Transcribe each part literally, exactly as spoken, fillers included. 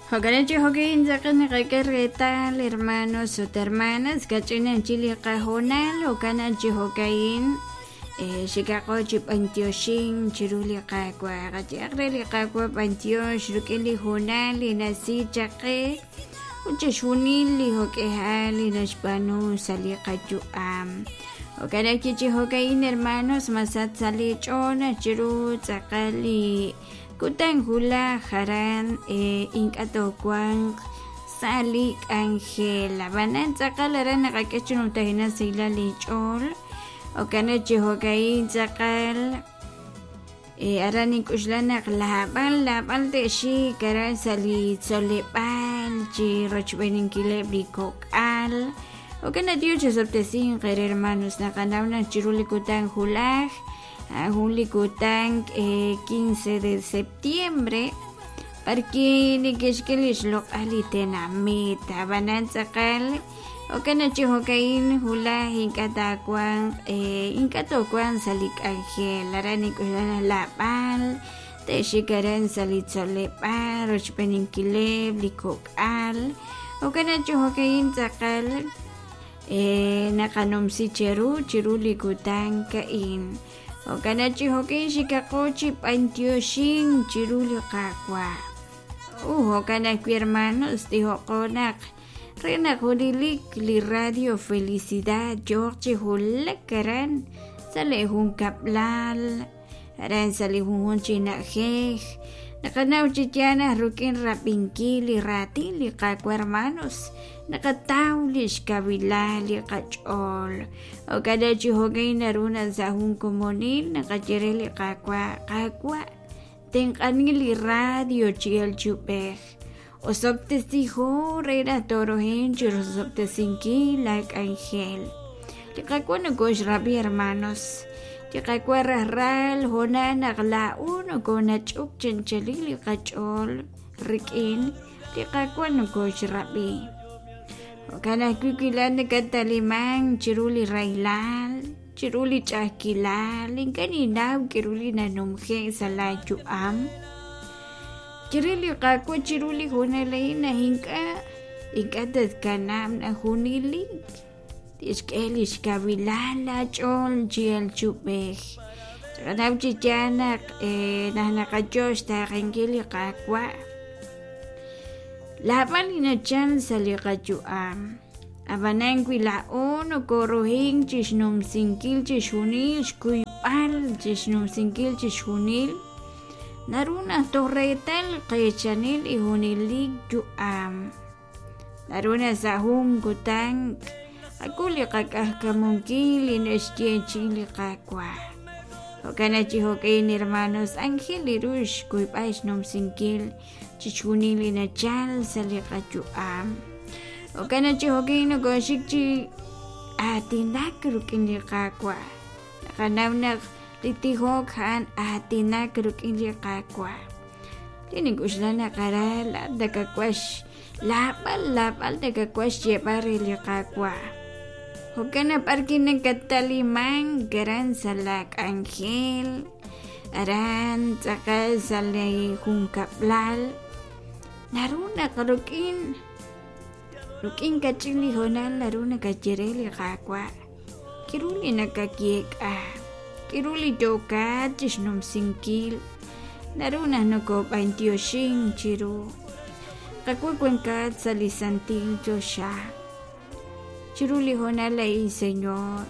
Jo'kan chi jo'kin tz'aqal naqak'e reetal hermanos ut hermanas kach'in chi li qahoonal jo'kan chi jo'ka'in xikaqo chi b'antioxin chiru li Qaawa' qayehaq re li Qaawa' b'antiox rik'in li hoonal li nasi chaqe ut chixjunil li jo'k'ehal li naxb'aanu sa' li qayu'am. Jo'kan ajwi' chi jo'ka'in hermanos masach sa' li ch'ool chiru tz'aqal li kutan wulaj aran ink'a' toowanq sa' li k'anjel. Ab'anan tz'aqal aran naqak'e chi numtajenaq sahilal li ch'ool. Jo'kan chi jo'ka'in tz'aqal aran nink'uxla naq laab'al laab'al te'xik aran sa' li tzoleb'aal chi rochb'eeninkileb' li kok'al. Jo'kan Dios chisob'tesinq eere hermanos naqanaw naq chiru li kutan wulaj jun li kutan quince de septiembre parki neke'xk'e li xloq'al li tenamit ab'anan tz'aqal jo'kan chi jo'ka'in wulaj ink'a' taawanq ink'a' toowanq sa' li k'anjel aran nink'uxla naq laab'al te'xik aran sa' li tzoleb'aal rochb'eeninkileb' li kok'al jo'kan chi jo'ka'in tz'aqal naqanumsi cheru chiru li kutan ka'in. Jo'kan chi jo'kin xikaqo chi b'antioxin chiru li Qaawa'. Uh, jo'kan ajwi' hermanos tijo'qo naq re naq junelik li Radio Felicidad yooq chi wulak aran sa' li junkab'lal aran sa' li junjunq chi na'ajej naqanaw chi yaal naq rik'in rab'inkil li raatin li Qaawa' hermanos naqataw li xkawilal li qach'ool. Jo'kan chi jo'kan naru naq sa' jun komonil naqaye re li Qaawa' Qaawa' tenq'ani li radio chi el chub'ej osob'tesijo re naq toorohin chi rosob'tesinkil la k'anjel. Li Qaawa' nokoxrab'i hermanos. Li Qaawa' rajral hoonal naq laa'u nokonach'uk chanchalil li qach'ool rik'in li Qaawa' nokoxrab'i. Jo'kan ajwi' wi laa'at nakataliman chiru li rahilal, chiru li ch'a'ajkilal, ink'a' ninnaw k'aru li nanumje' sa' laayu'am. Chire li Qaawa' chiru li hoonal a'in naq ink'a' ink'a' tatkanab' naq junelik tixk'e li xkawilal laach'ool chi el chub'ej. Chaqanaw chi yaal naq naq naqayo xtaaqenkil li Qaawa' laab'al li nachal sa' li qayu'am. Ab'anan wi laa'o nokorohin chixnumsinkil chixjunil xkuyb'al chixnumsinkil chixjunil naru naq toj reetal qeechanil li junelik yu'am. Naru naq sa' jun kutan qak'ul li qak'ajkamunkil li naxyeechi'i li Qaawa'. Jo'kan chi jo'kan hermanos ángel li ru xkuyb'al xnumsinkil chixjunil li nachal sa' li qayu'am. Jo'kan chi jo'kan nokoxik chi aatinak rik'in li Qaawa'. Naqanaw naq li tijok a'an aatinak rik'in li Qaawa'. Li nink'uxla naq aran laa'at nakawax laab'al laab'al nakawax xyeeb'al re li Qaawa'. Jo'kan naq b'arki nakataliman aran sa' la k'anjel aran tz'aqal sa' li junkab'lal naru naq rik'in rik'in kach'in li hoonal naru nakaye re li Qaawa' k'aru li nakayeek'a k'aru li yookat chixnumsinkil naru naq nokob'antioxin chiru. Qaawa' wankat sa' li santil choxa chiru li hoonal a'in Señor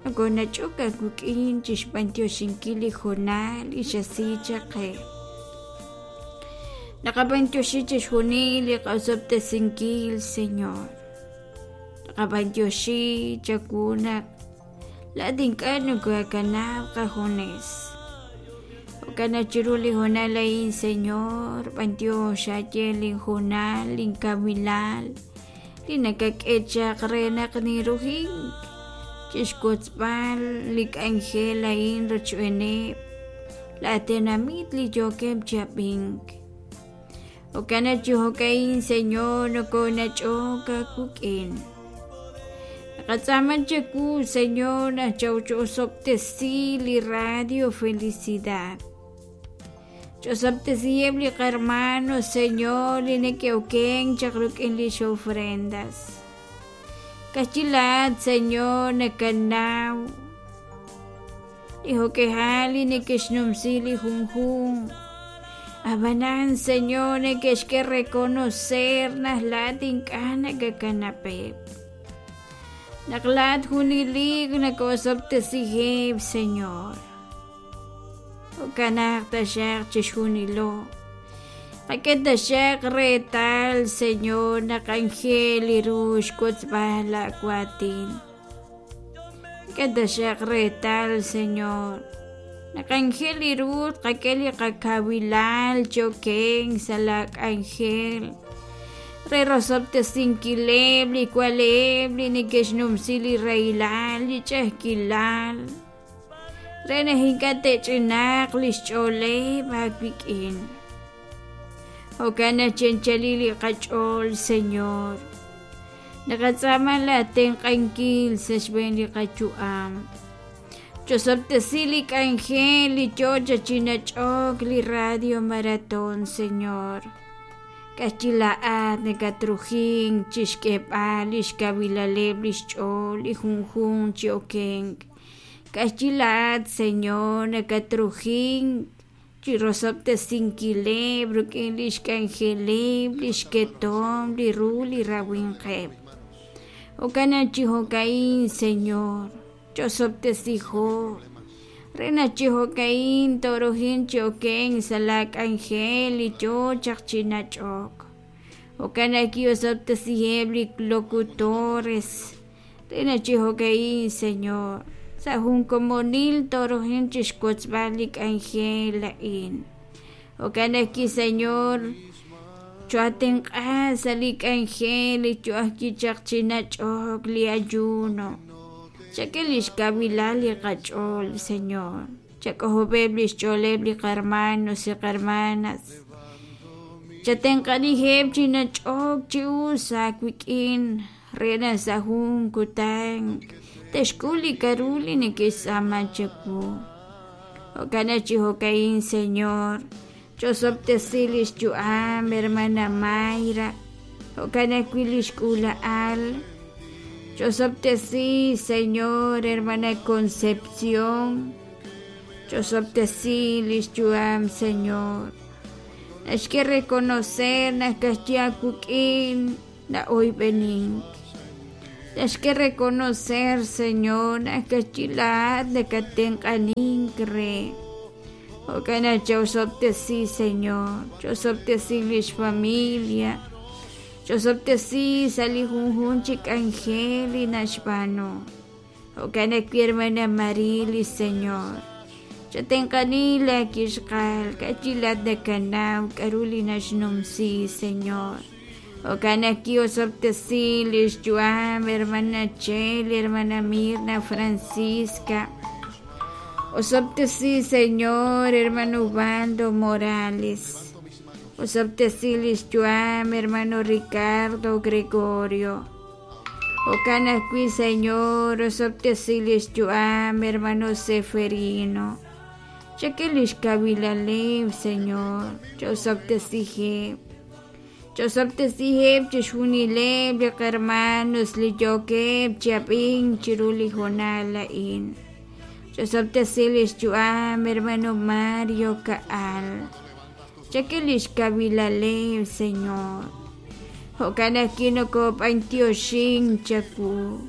nokonach'ok aawik'in chixb'antioxinkil li hoonal li xasi chaqe. Naqab'antioxi chixjunil li qasob'tesinkil Señor. Naqab'antioxi chawu naq laa'at ink'a' nokoakanab' qajunes. Jo'kan naq chiru li hoonal a'in Señor b'antiox aaye linhoonal linkawilal li nakak'e chaq re naq nirujink chixwotzb'al li k'anjel a'in rochb'eeneb' la tenamit li yookeb' chi ab'ink. Jo'kan chi jo'ka'in Señor nokonach'ok aawik'in. Naqatz'aama chawu Señor naq chawchosob'tesi li Radio Felicidad. Ch'osob'tesiheb' li qarmanos, Señor, li neke'okenk chaq rik'in lix ofrendas. Kajchi laat, Señor, nakanaw li jo'k'ejal li neke'xnumsi li junjunq. Ab'anan, Señor, neke'xk'e reconocer naq laat ink'a' nakakanab'eb'. Naq laat junelik nakosob'tesiheb', Señor. Jo'kanaq taxaq chixjunilo. Qak'e taxaq reetal, Señor, naq anjel ru xwotzb'al laawaatin. Qak'e taxaq reetal, Señor, naq anjel ru tqak'e li qakawilal chokenk sa' la k'anjel re rosob'tesinkileb' li waleb' li neke'xnumsi li rahilal, li ch'a'ajkilal, re naq ink'a' te'ch'inaaq li xch'ooleb' aawik'in. Jo'kan naq chi'anchali li qach'ool, Señor, naqatz'aama laatenq'ankil sa' xb'een li qayu'am. Ch'osob'tesi li k'anjel li yoo chi nach'ok li Radio Maratón, Señor. Kajchi laat nakatrujink chixk'eb'al li xkawilaleb' li xch'ool li junjunq chi okenk. Kajchi laat, Señor, nakatrujink chi rosob'tesinkileb' rik'in li xk'anjeleb' li xketom li ru li rawinqeb'. Jo'kan naq chi jo'ka'in, Señor, ch'osob'tesijo. Re naq chi jo'ka'in torojin chi okenk sa' la k'anjel li yoo chaq chi nach'ok. Jo'kan naq kiosob'tesiheb' li locutores. Re naq chi jo'ka'in, Señor, sa' jun komonil torojin chixwotzb'al li k'anjel a'in. Jo'kan naq ki, Señor, choatenq'a sa' li k'anjel li yo'aj chaq chi nach'ok li ayuno. Chak'e li xkawilal li qach'ool, Señor. Chak'ojob'eb' li xch'ooleb' li qarmanos y qarmanas. Chatenq'anijeb' chi nach'ok chi us aawik'in re naq sa' jun kutan te'xk'ul li k'a'ru li neke'xtz'aama chawu. Jo'kan naq chi jo'ka'in, Señor, ch'osob'tesi li xyu'am hermana Mayra. Jo'kan ajwi' li xk'uula'al. Ch'osob'tesi, Señor, hermana Concepción. Ch'osob'tesi li xyu'am, Señor. Naxk'e reconocer naq kajchi aawik'in na'oyb'enink. Naxk'e reconocer, Señor, naq kajchi laat nakatenq'anink re. Jo'kan naq ch'osob'tesi, Señor, ch'osob'tesi lix familia. Ch'osob'tesi sa' li junjunq chi k'anjel li naxb'aanu. Jo'kan ajwi' hermana Marilis, Señor. Chatenq'ani laakixqal, kajchi laat nakanaw k'a'ru li naxnumsi, Señor. Jo'kan naq kiosob'tesi li xyu'am hermana Chel, hermana Mirna Francisca. Osob'tesi, Señor, hermano Ubaldo Morales. Osob'tesi li xyu'am hermano Ricardo Gregorio. Jo'kan ajwi', Señor, osob'tesi li xyu'am hermano Seferino. Chak'e li xkawilaleb', Señor, ch'osob'tesiheb'. Ch'osob'tesiheb' chixjunileb' li qarmanos li yookeb' chi ab'ink chiru li hoonal a'in. Ch'osob'tesi li xyu'am hermano Mario Ka'al. Chak'e li xkawilaleb', Señor. Jo'kan naq kinokob'antioxin chawu.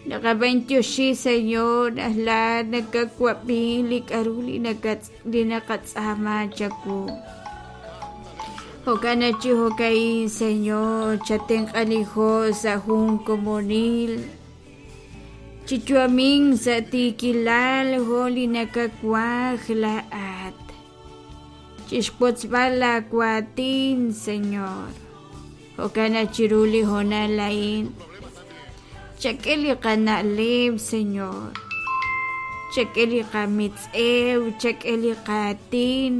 Naqab'antioxi, Señor, naq laat nakawab'i li k'a'ru li nakatz- li naqatz'aama chawu. Jo'kan naq chi jo'ka'in, Señor, chatenq'anijo sa' jun komonil. Chichuamin sa' tiikilal jo' li nakakuaj laat. Chixwotzb'al laawaatin, Señor. Jo'kan naq chiru li hoonal a'in. Chak'e li qana'leb', Señor. Chak'e li qamitz'ew, chak'e li qaatin.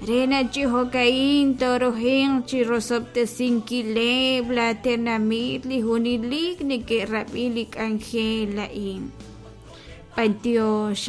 Re naq chi jo'ka'in torojin chi rosob'tesinkileb' laatenamit li junelik neke'rab'i li k'anjel a'in. Pantiox